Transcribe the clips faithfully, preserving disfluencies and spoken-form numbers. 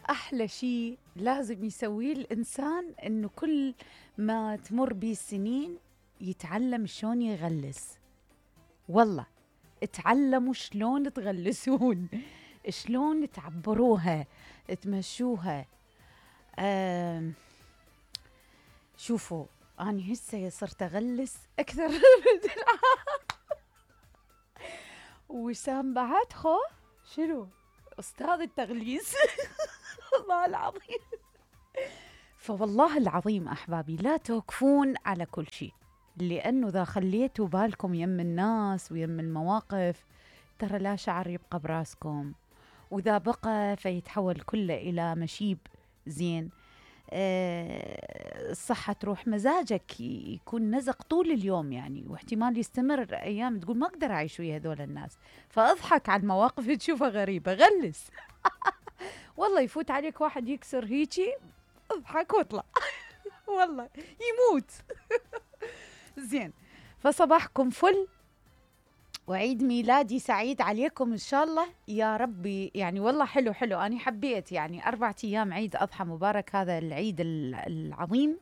أحلى شيء لازم يسويه الإنسان إنه كل ما تمر بيه السنين يتعلم شلون يغلس. والله اتعلموا شلون تغلسون، شلون تعبروها، تمشوها. آم، شوفوا أنا هسه صرت أغلس أكثر من العادة. وسام بعد خو شنو أستاذ التغليس. والله العظيم. فوالله العظيم أحبابي لا توقفون على كل شيء، لأنه إذا خليتوا بالكم يم الناس ويم المواقف ترى لا شعر يبقى براسكم، وإذا بقى فيتحول كله إلى مشيب. زين. أه الصحة تروح، مزاجك يكون نزق طول اليوم يعني، واحتمال يستمر أيام تقول ما أقدر أعيش ويا هذول الناس. فأضحك على المواقف تشوفها غريبة، غلس. والله يفوت عليك واحد يكسر هيجي، اضحك واطلع. والله يموت. زين. فصباحكم فل، وعيد ميلادي سعيد عليكم إن شاء الله يا ربي. يعني والله حلو حلو، أنا حبيت يعني أربعة أيام عيد أضحى مبارك، هذا العيد العظيم.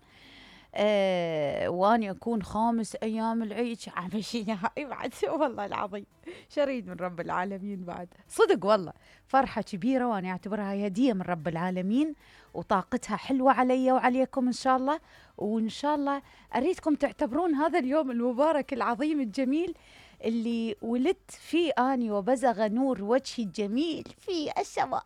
أه واني اكون خامس ايام العيد عمشينا هاي بعد. والله العظيم شريد من رب العالمين بعد، صدق والله فرحة كبيرة، واني اعتبرها هي هدية من رب العالمين، وطاقتها حلوة علي وعليكم ان شاء الله. وان شاء الله اريدكم تعتبرون هذا اليوم المبارك العظيم الجميل اللي ولدت فيه اني، وبزغ نور وجهي الجميل في السماء.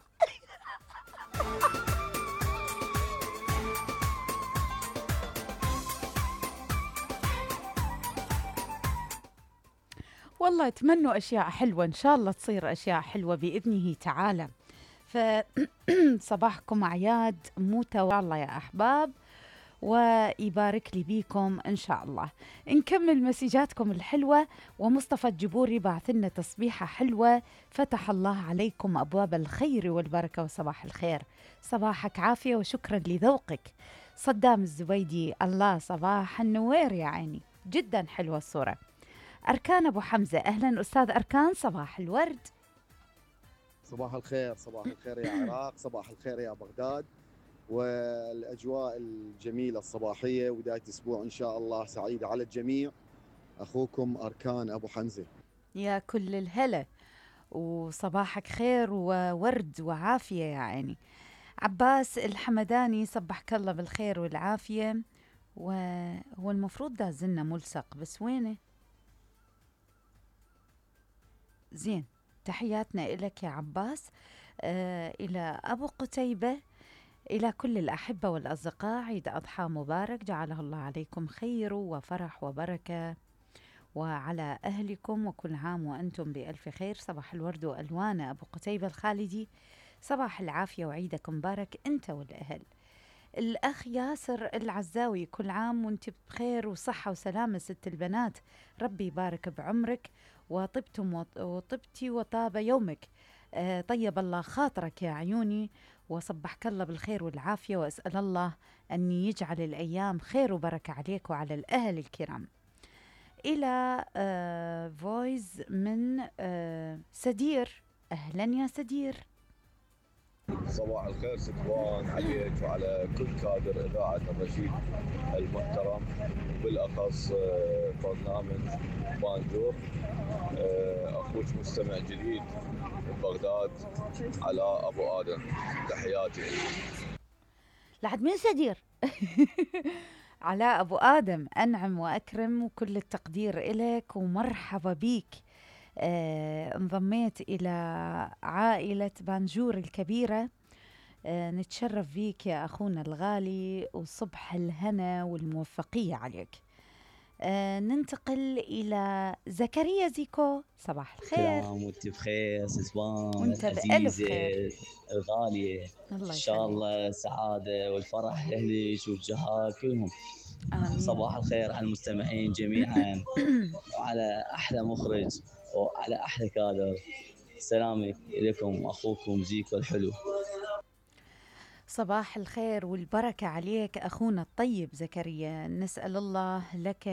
والله اتمنوا أشياء حلوة إن شاء الله تصير أشياء حلوة بإذنه تعالى. فصباحكم أعياد متواصلة الله يا أحباب، ويبارك لي بيكم إن شاء الله. نكمل مسيجاتكم الحلوة. ومصطفى الجبوري بعث لنا تصبيحة حلوة: فتح الله عليكم أبواب الخير والبركة وصباح الخير، صباحك عافية وشكرا لذوقك. صدام الزبيدي: الله صباح النوير يا عيني، جدا حلوة الصورة. أركان أبو حمزة: أهلا أستاذ أركان، صباح الورد. صباح الخير، صباح الخير يا عراق، صباح الخير يا بغداد، والأجواء الجميلة الصباحية، وبداية أسبوع إن شاء الله سعيدة على الجميع. أخوكم أركان أبو حمزة. يا كل الهلا، وصباحك خير وورد وعافية يا عيني. عباس الحمداني: صبحك الله بالخير والعافية. وهو المفروض دازلنا ملصق، بس وينه؟ زين، تحياتنا إلك يا عباس. آه إلى أبو قتيبة: إلى كل الأحبة والأصدقاء عيد أضحى مبارك، جعله الله عليكم خير وفرح وبركة، وعلى أهلكم، وكل عام وأنتم بألف خير. صباح الورد وألوان أبو قتيبة الخالدي، صباح العافية وعيدك مبارك أنت والأهل. الأخ ياسر العزاوي: كل عام وانت بخير وصحة وسلامة ست البنات، ربي يبارك بعمرك وطبتم وطبتي وطاب يومك. آه طيب الله خاطرك يا عيوني، وصبحك الله بالخير والعافية، وأسأل الله أن يجعل الأيام خير وبركة عليك وعلى الأهل الكرام. إلى آه فويز من آه سدير: أهلا يا سدير. صباح الخير ستوان عليك وعلى كل كادر إذاعة الرشيد المحترم، بالأخص برنامج بانجور. أخوك مستمع جديد من بغداد، علاء أبو آدم، تحياتي. لعد من سدير؟ علاء أبو آدم، أنعم وأكرم وكل التقدير إليك ومرحبا بيك. آه، انضميت إلى عائلة بانجور الكبيرة. آه، نتشرف بيك يا أخونا الغالي، وصبح الهنا والموفقية عليك. آه، ننتقل إلى زكريا زيكو: صباح الخير. سلام وانت بخير ستوان وانت بألف خير الغالية، إن شاء الله السعادة والفرح لأهلك والجهات كلهم. آمين. صباح الخير على المستمعين جميعا، وعلى أحلى مخرج وعلى أحلى كادر. سلامي إليكم أخوكم زيكو الحلو. صباح الخير والبركة عليك أخونا الطيب زكريا، نسأل الله لك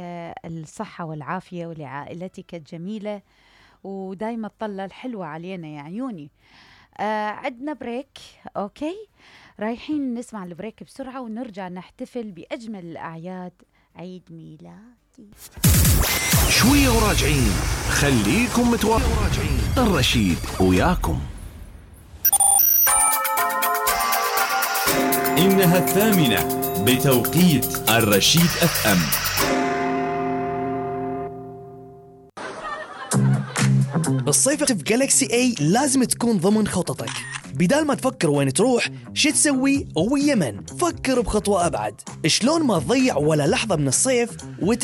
الصحة والعافية ولعائلتك الجميلة، ودايما الطلة الحلوة علينا يا عيوني. آه عدنا بريك. أوكي، رايحين نسمع البريك بسرعة ونرجع نحتفل بأجمل الأعياد، عيد ميلادي. شوية وراجعين، خليكم متواجعين. الرشيد وياكم. إنها الثامنة بتوقيت الرشيد اف ام. الصيف في جالكسي اي لازم تكون ضمن خططك. بدال ما تفكر وين تروح شو تسوي ويا من، فكر بخطوة أبعد. شلون ما تضيع ولا لحظة من الصيف وت